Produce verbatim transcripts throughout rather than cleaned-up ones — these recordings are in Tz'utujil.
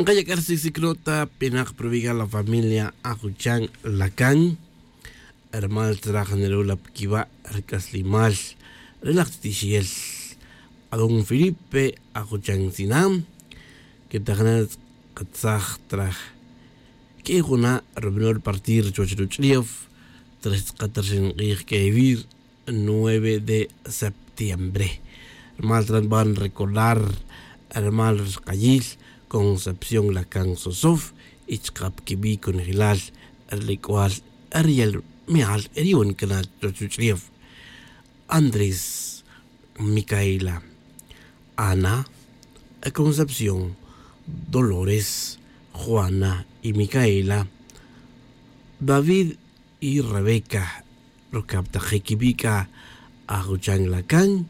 Nkaya' k'a ri sicsic nota pinak pa ruwi' k'a la familia ajuchan lacan. Rumal tzraj nrula pa quiwa' ri c'aslimal ri laj tz'itixel adón felipe ajuchan tzina. Quetaj na tz'akatzaj traj que'ej juna' rubanol partir chuwach ruch'ulef traj xtz'akat rixin k'ij quewi' nueve de septiembre. Rumal tzraj nban recordar rumal ri rkayil concepción lacan sosof y chaka' pa quibi' conejilal ri lec'ual ri yal me'al ri yu'un cana chuwach ruch'ulef. Andrés, micaela, ana, concepción, dolores, juana y micaela, david y rebeca. Rucab tak je' quibi' c'a ajuchan lacan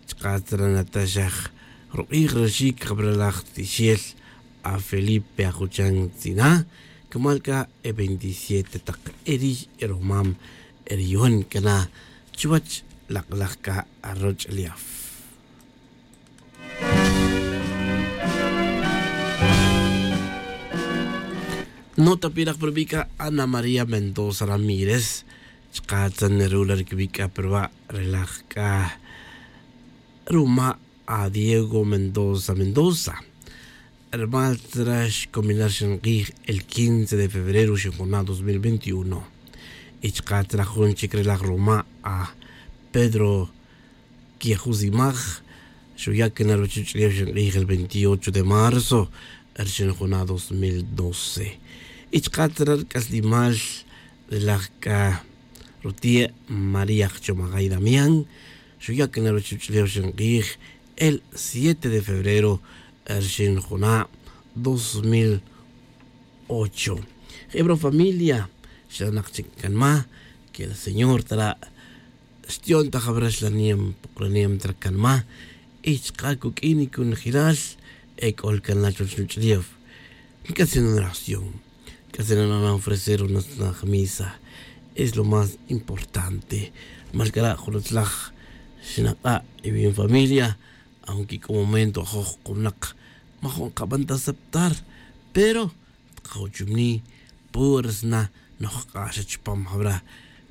chaka' tzra nataxaj ruk'ij raxic jabra laj tixel a felipe ajuchan tzina. Cumal c'a e veintisiete tak eri' e rumam eri' yu'un cana chuwach lak'laj c'a aroch'ulef. Nota pirak pa rubi' c'a ana maría mendoza ramírez chaka' tzan ru la ri quibi' c'a pa ruba' ri laj c'a ruma' a diego mendoza mendoza. Rumal tzra xcominar xink'ij el quince de febrero xinjuna' dos mil veintiuno. Y chaka' tzra jun chic ri laj ruma' a pedro quejusimaj xuya' cana ruwach ruch'ulef xink'ij el veintiocho de marzo ri xinjuna' dos mil doce. Y chaka' tzra ri c'aslimal ri laj c'a rutie' maría jchomajay damián xuya' cana ruwach ruch'ulef xink'ij el siete de febrero ri xinjuna' dos mil ocho. Jeb ri familia xlanak chic canma que ri señor tara' xti'on ta jabra xlanem pokolanem tara' canma y chaka' cuq'uin conejilal ec'ol can la chuwach nuch'ulef. Nc'atzin oración nc'atzin na'an ofrecer runatz'naj misa. Es lo más importante. Rumal c'a ra' jun utzlaj xnak'a' y bien familia aunque c'o momento ajoj kunak majo' nkaban ta aceptar. Pero tkajochumni pur sna nojk'ax chupam jabra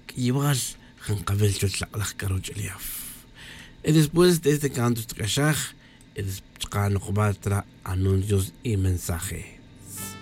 k'iyibal jankawil chuwach lak'laj k'a ruch'ulef. Y después de este canto xtk'axaj y chaka' nokbat ra anuncios y mensaje.